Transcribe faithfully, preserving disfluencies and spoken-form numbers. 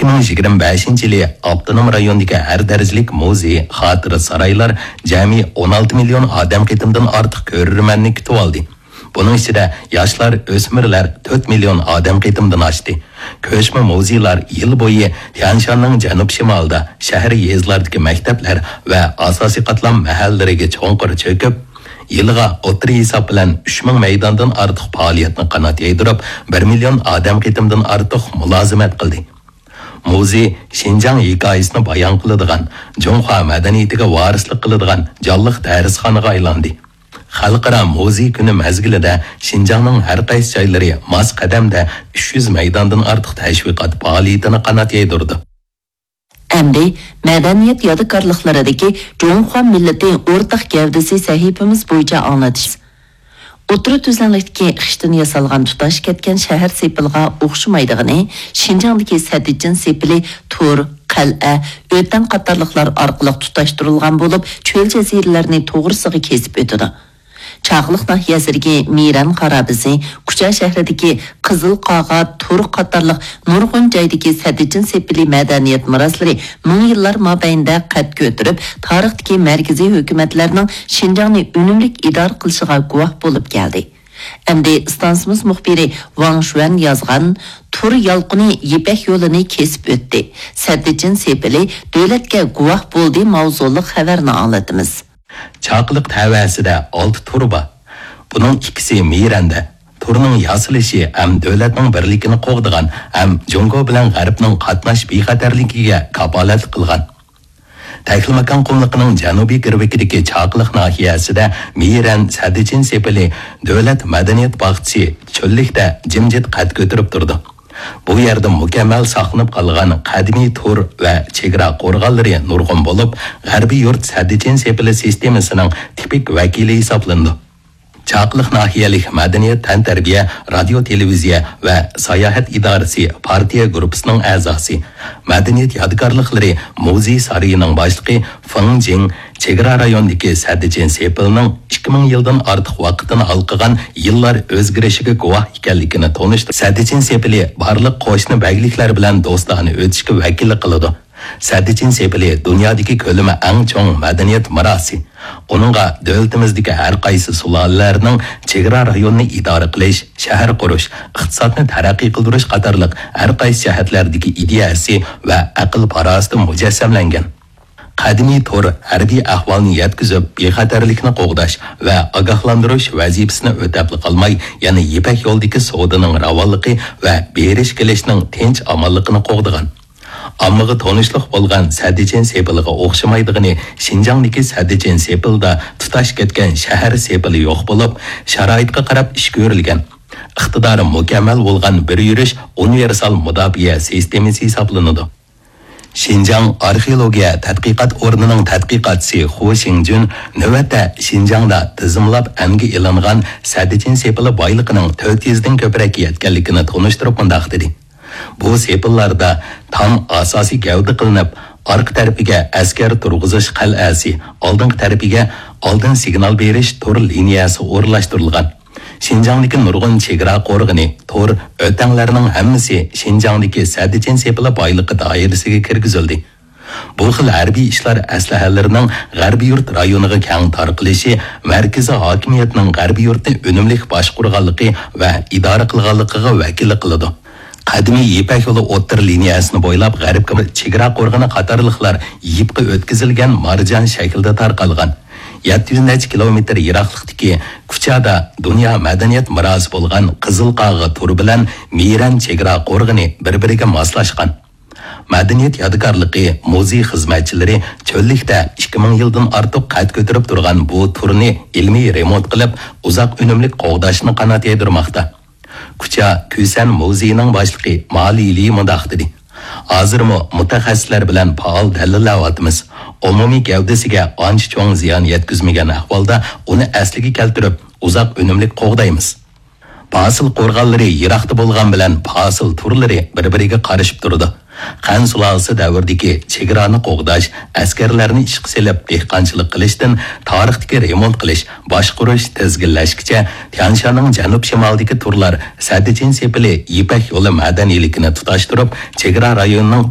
يىگىرمە بەشىنچى يىلى ئاپتونوم رايوندىكى ھەر دەرىجىلىك مۇزېي، خاتىرە سارايلار جەمئىي ئون ئالتە مىليون ئادەم قېتىمدىن ئارتۇق كۆرۈرمەننى كۈتۈۋالدى. بۇنىڭ ئىچىدە ياشلار، ئۆسمۈرلەر تۆت مىليون ئادەم قېتىمدىن ئاشتى. كۆچمە مۇزېيلار يىل بويى تيەنشاننىڭ جەنۇب-شىمالىدا، شەھەر، يېزىلاردىكى مەكتەپلەر ۋە ئاساسىي قاتلام مەھەللىلىرىگە چوڭقۇر چۆكۈپ، يىلىغا ئوتتۇرا ھېساب بىلەن ئۈچ مىڭ مەيداندىن ئارتۇق پائالىيەتنى قانات يايدۇرۇپ، بىر مىليون ئادەم قېتىمدىن ئارتۇق مۇلازىمەت قىلدى. مۇزېي شىنجاڭ ھېكايىسىنى بايان قىلىدىغان، جۇڭخۇا مەدەنىيىتىگە ۋارىسلىق قىلىدىغان جانلىق دەرسخانىغا ئايلاندى. خەلقئارا مۇزېي كۈنى مەزگىلىدە شىنجاڭنىڭ ھەر قايسى جايلىرى ماس قەدەمدە ئۈچ يۈز مەيداندىن ئارتۇق تەشۋىقات پائالىيىتىنى قانات يايدۇرىدۇ. ئەمدى مەدەنىيەت يادىكارلىقلىرىدىكى جۇڭخۇا مىللىتى ئورتاق گەۋدىسى سەھىپىمىز بويىچە ئاڭلىتىش. ئوتتۇرا تۈزلەڭلىكتىكى خىشتىن ياسالغان تۇتاش كەتكەن شەھەر سېپىلىغا ئوخشىمايدىغىنى، شىنجاڭدىكى سەددىچىن سېپىلى تور، قەلئە، ئۆتەڭ قاتارلىقلار ئارقىلىق تۇتاشتۇرۇلغان بولۇپ، چۆل جەزىرىلەرنى توغرىسىغا كېسىپ ئۆتىدۇ. چاقىلىق ناھىيەسىدىكى مىرەن خارابىسى، كۇچا شەھىرىدىكى قىزىل قاغا، تور قاتارلىق نۇرغۇن جايدىكى سەددىچىن سېپىلى مەدەنىيەت مىراسلىرى مىڭ يىللار مابەينىدە قەد كۆتۈرۈپ، تارىختىكى مەركىزىي ھۆكۈمەتلەرنىڭ شىنجاڭنى ئۈنۈملۈك ئىدارە قىلىشىغا گۇۋاھ بولۇپ كەلدى. ئەمدى ئىستانسىمىز مۇخبىرى ۋاڭ شۈەن يازغان تور يالقۇنى يىپەك يولىنى كېسىپ ئۆتتى، سەددىچىن سېپىلى دۆلەتكە گۇۋاھ بولدى ماۋزۇلۇق خەۋەرنى ئاڭلىتىمىز. چاقىلىق تەۋەسىدە ئالتە تور بار. بۇنىڭ ئىككىسى مىرەندە. تورنىڭ ياسىلىشى ھەم دۆلەتنىڭ بىرلىكىنى قوغدىغان، ھەم جۇڭگو بىلەن غەربنىڭ قاتناش بىخەتەرلىكىگە كاپالەتلىك قىلغان. تەكلىماكان قۇملۇقىنىڭ جەنۇبىي گىرۋىكىدىكى چاقىلىق ناھىيەسىدە مىرەن سەددىچىن سېپىلى دۆلەت مەدەنىيەت باغچىسى چۆللۈكتە جىمجىت قەد كۆتۈرۈپ تۇرىدۇ. بۇ يەردە مۇكەممەل ساقلىنىپ قالغان قەدىمىي تور ۋە چېگرا قورغانلىرى نۇرغۇن بولۇپ، غەربىي يۇرت سەددىچىن سېپىلى سىستېمىسىنىڭ تىپىك ۋەكىلى ھېسابلىنىدۇ. چاقىلىق ناھىيەلىك مەدەنىيەت، تەنتەربىيە، رادىيو، تېلېۋىزىيە ۋە ساياھەت ئىدارىسى پارتىيە گۇرۇپپىسىنىڭ ئەزاسى، مەدەنىيەت يادىكارلىقلىرى مۇزېي سارىيىنىڭ باشلىقى فېڭ جىڭ، چېگرا رايونىدىكى سەددىچىن سېپىلنىڭ ئىككى مىڭ يىلدىن ئارتۇق ۋاقىتنى ھالقىغان يىللار ئۆزگىرىشىگە گۇۋاھ ئىكەنلىكىنى تونۇشتۇرۇپ، سەددىچىن سېپىلى بارلىق قوشنا بەگلىكلەر بىلەن دوستانە ئۆتۈشكە ۋەكىللىك قىلىدۇ. سەددىچىن سېپىلى دۇنيادىكى كۆلىمى ئەڭ چوڭ مەدەنىيەت مىراسى. ئۇنىڭغا دۆلىتىمىزدىكى ھەر قايسى سۇلالىلەرنىڭ چېگرا رايونىنى ئىدارە قىلىش، شەھەر قۇرۇش، ئىقتىسادنى تەرەققىي قىلدۇرۇش قاتارلىق ھەر قايسى جەھەتلەردىكى ئىدىيەسى ۋە ئەقىل-پاراسىتى مۇجەسسەملەنگەن. قەدىمىي تور ھەربىي ئەھۋالنى يەتكۈزۈپ، بىخەتەرلىكنى قوغداش ۋە ئاگاھلاندۇرۇش ۋەزىپىسىنى ئۆتەپلا قالماي، يەنە يىپەك يولىدىكى سودىنىڭ راۋانلىقى ۋە بېرىش-كېلىشنىڭ تىنچ-ئامانلىقىنى قوغدىغان. ئاممىغا تونۇشلۇق بولغان سەددىچىن سېپىلىغا ئوخشىمايدىغىنى، شىنجاڭدىكى سەددىچىن سېپىلدا تۇتاش كەتكەن شەھەر سېپىلى يوق بولۇپ، شارائىتقا قاراپ ئىش كۆرۈلگەن، ئىقتىدارى مۇكەممەل بولغان بىر يۈرۈش ئۇنىۋېرسال مۇداپىئە سىستېمىسى ھېسابلىنىدۇ. شىنجاڭ ئارخېئولوگىيە تەتقىقات ئورنىنىڭ تەتقىقاتچىسى خۇ شىڭجۈن نۆۋەتتە شىنجاڭدا تىزىملاپ ئەنگە ئېلىنغان سەددىچىن سېپىلى بايلىقىنىڭ تۆت يۈزدىن كۆپرەك يەتكەنلىكىنى تونۇشتۇرۇپ مۇنداق دېدى: بۇ سېپىللاردا تام ئاساسىي گەۋدە قىلىنىپ، ئارقا تەرىپىگە ئەسكەر تۇرغۇزۇش قەلئەسى، ئالدىنقى تەرىپىگە ئالدىن سىگنال بېرىش تور لىنىيەسى ئورۇنلاشتۇرۇلغان. شىنجاڭدىكى نۇرغۇن چېگرا قورغىنى، تور، ئۆتەڭلەرنىڭ ھەممىسى شىنجاڭدىكى سەددىچىن سېپىلى بايلىقى دائىرىسىگە كىرگۈزۈلدى. بۇ خىل ھەربىي ئىشلار ئەسلىھەلىرىنىڭ غەربىي يۇرت رايونىغا كەڭ تارقىلىشى مەركىزىي ھاكىمىيەتنىڭ غەربىي يۇرتنى ئۈنۈملۈك باشقۇرغانلىقى ۋە ئىدارە قىلغانلىقىغا ۋەكىللىك قىلىدۇ. قەدىمىي يىپەك يولى ئوتتۇرا لىنىيەسىنى بويلاپ غەربكە چېگرا قورغىنى قاتارلىقلار يىپقا ئۆتكۈزۈلگەن مارجان شەكلىدە تارقالغان. يەتتە يۈز نەچچە كىلومېتىر يىراقلىقتىكى كۇچادا دۇنيا مەدەنىيەت مىراسى بولغان قىزىل قاغا تور بىلەن مىرەن چېگرا قورغىنى بىر-بىرىگە ماسلاشقان. مەدەنىيەت يادىكارلىقى مۇزېي خىزمەتچىلىرى چۆللۈكتە ئىككى مىڭ يىلدىن ئارتۇق قەد كۆتۈرۈپ تۇرغان بۇ تورنى ئىلمىي رېمونت قىلىپ، ئۇزاق ئۈنۈملۈك قوغداشنى قانات يايدۇرماقتا. كۇچا كۈسەن مۇزېيىنىڭ باشلىقى ما لىلى مۇنداق دېدى: ھازىرمۇ مۇتەخەسسىسلەر بىلەن پائال دەلىللەۋاتىمىز. ئومۇمىي گەۋدىسىگە ئانچە چوڭ زىيان يەتكۈزمىگەن ئەھۋالدا ئۇنى ئەسلىگە كەلتۈرۈپ، ئۇزاق ئۈنۈملۈك قوغدايمىز. پاسىل قورغانلىرى يىراقتا بولغان بىلەن پاسىل تورلىرى بىر-بىرىگە قارىشىپ تۇرىدۇ. خەن سۇلالىسى دەۋرىدىكى چېگرانى قوغداش، ئەسكەرلەرنى ئىشقا سېلىپ دېھقانچىلىق قىلىشتىن تارىختىكى رېمونت قىلىش، باشقۇرۇش، تىزگىنلەشكىچە تيانشاننىڭ جەنۇب-شىمالىدىكى تورلار سەددىچىن سېپىلى يىپەك يولى مەدەنىيلىكىنى تۇتاشتۇرۇپ، چېگرا رايونىنىڭ